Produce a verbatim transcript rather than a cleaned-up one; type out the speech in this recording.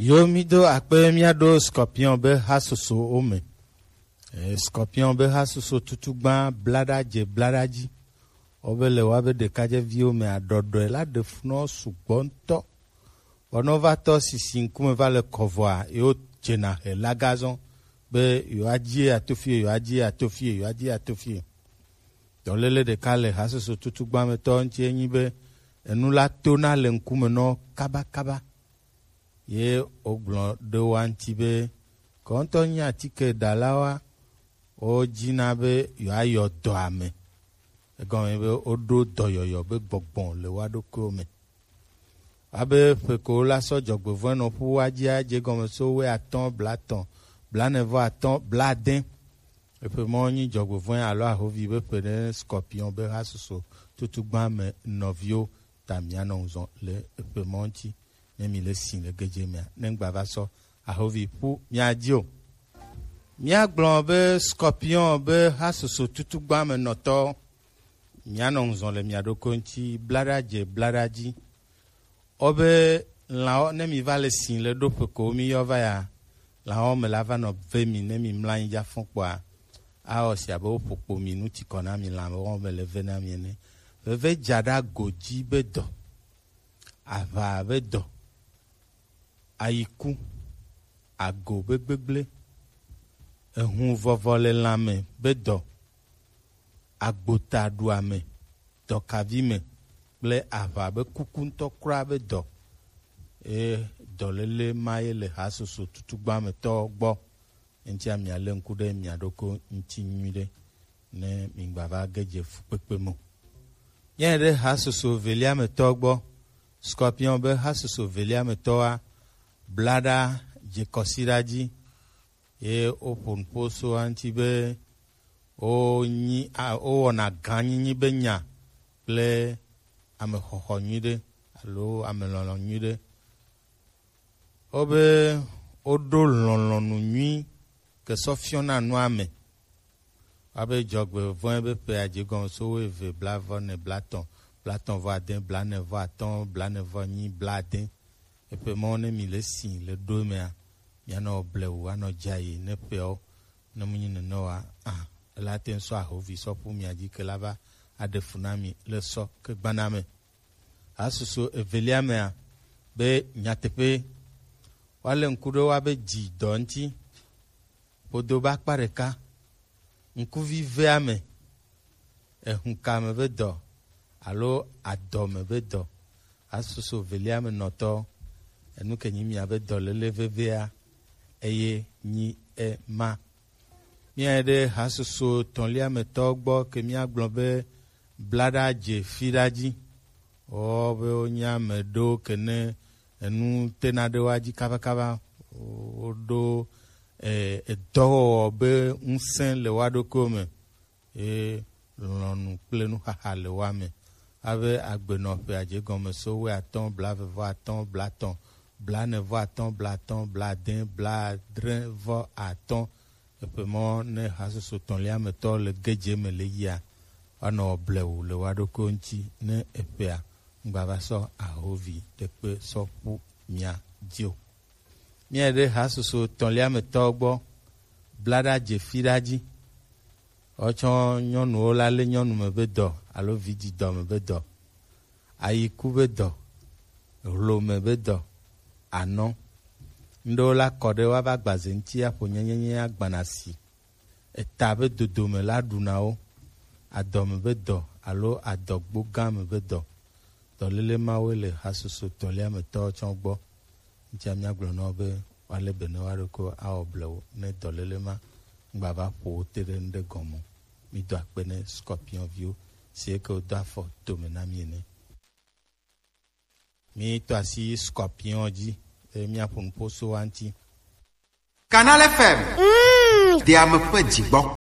Yo, mi do akpe, mia do Scorpion be hasoso wo me. Eh, Scorpion be hasoso tutugba blada je blada ji. Wo be le wa be ɖekadzeviwo me adɔdɔe la ɖe fu nɔ sugbɔ ŋutɔ. Bɔ nɔ va tɔ sisi ŋkume va le kɔvɔa, yo jena he la gazɔn be yo adzi ya to fie, yo adzi ya to fie, yo adzi ya to fie. Dɔlele ɖeka le hasoso tutugba me tɔ ŋuti enyi be enu la tona le ŋkume nɔ kabakaba. Ye wogblɔ ɖe wo ŋuti be, kɔntɔ nyi atike dalawoa, wodina be yewoayɔ dɔa me. Egɔme be woɖo dɔyɔyɔ be gbɔgbɔ le woa ɖokuiwo me. Abe ƒe ko la sɔ dzɔgbevɔ̃e nɔ ƒu woa dzia, dze gɔme so wɛ atɔ̃, blatɔ̃, blanevɔ atɔ̃, bladẽ. Eƒe mɔ nyi dzɔgbevɔ̃e alo ahovi be ƒe ɖe Scorpion be hasoso tutugba me nɔviwo ta mianɔ ŋuzɔ le eƒe mɔ ŋuti. Ne mi le si le gedze mea, ne ŋgba va sɔ ahovi ƒu mia dzi o. Míagblɔ be Scorpion be hasoso tutugba me nɔtɔ, mianɔ ŋuzɔ le mia ɖokui ŋuti, blaɖa dze blaɖa dzi. Wo be lãwo, ne mi va le si le ɖo ƒe ko mi yɔ va ya, lãwo me la va nɔ ve mi, ne mi mlɔ anyi dza fɔn kpɔa, awɔ si abe woƒo kpo mi nu ti kɔ na mi, lãwo me le ve na mi ene. Veve dza ɖe ago dzi be dɔ, aʋa be dɔ, ayiku, ago be gbegblẽ, ehun vɔvɔ le lãme be dɔ, agbota ɖuame, dɔkavi me kple aʋa be kuku ŋutɔ kura be dɔ. Eye dɔléle ma ye le hasoso tutugba me tɔwo gbɔ. Eŋutia mialé ŋku ɖe mia ɖokui ŋuti nyuiɖe, ne migba va ge dze fukpekpe me o. Míayi ɖe hasoso velia me tɔ gbɔ. Scorpion be hasoso velia me tɔwoa, blaɖa dze kɔsiɖa dzi, ye woƒo nuƒo so eŋuti be wonyi, a, wowɔna gãnyinyi be nya kple amexɔxɔ nyuiɖe alo amelɔlɔ̃ nyuiɖe. Wobe woɖo lɔlɔ̃nu nyui ke sɔ fiɔna nua me. Abe dzɔgbevɔ̃e be ƒe adzi gɔme so wuieve, blavɔ ne, blatɔ̃, blatɔ̃ vɔ ade, blane vɔ atɔ̃, blane vɔ enyi, blade. Eƒe mɔ ne mi le si le ɖo emea, mianɔ blewu anɔ dzayi ne ƒeawo ne mu nyi nene oa, a, ela te ŋu sɔ ahovi sɔ ƒu mia dzi ke la va aɖe fu na mi le sɔ ke gbana me. Hasoso evelia mea, be nyateƒe, woalé ŋku ɖe woa be dzi dɔ ŋuti. Ƒodo be akpa ɖeka, ŋkuvi vea me, ehunka me be dɔ alo adɔ me be dɔ. Hasoso velia me nɔtɔ, enu ke nyi mia be dɔléle vevea, eye nyi ema. Míayi ɖe hasoso etɔ̃lia me tɔ gbɔ ke míagblɔ be blaɖa dze fiɖa dzi. Wɔ be wonye ame ɖewo ke ne enu tena ɖe woa dzi kabakaba. Woɖo, eh, edɔwɔwɔ be ŋusẽ le woa ɖokuiwo me. Ye lɔlɔ̃nu kple nuxaxa le woa me. Abe agbenɔƒe adze gɔme so wuiatɔ̃, blaeve vɔ atɔ̃, blatɔ̃, blane vɔ atɔ̃, blatɔ̃, blade, bladre vɔ atɔ̃. Eƒe mɔ ne hasoso etɔ̃lia me tɔ le gedze me le yia, woanɔ blewu le woa ɖokuiwo ŋuti ne eƒea ŋgba va sɔ ahovi ɖekpe sɔ ƒu mia dzi o. Míayi ɖe hasoso etɔ̃lia me tɔwo gbɔ, blaɖa dze fiɖa dzi. Wotsɔ nyɔnuwo la lé nyɔnu me be dɔ alo vidzidɔ me be dɔ, ayiku be dɔ, hlome be dɔ, anɔ. Ŋɖewo la kɔ ɖe woava gbaze ŋuti aƒo nyenyenye agbana si. Eta be dodome la ɖuna wo, adɔme be dɔ alo adɔgbo gã me be dɔ. Dɔléle mawoe le hasoso etɔ̃lia me tɔwo tsɔ gbɔ. Ŋutia míagblɔ na wo be woalé be ne woa ɖokui awɔ blewu ne dɔléle ma ŋgba va ƒo wo te ɖe ŋɖe gɔme o. Mído akpe ne Scorpion viwo, si ke wodo afɔ tome na mí ene. Mítɔ asi Scorpion dzi, eye míaƒo nuƒo so wa ŋuti. Canal F M. Mm. Ɖe ame ƒe dzi gbɔ.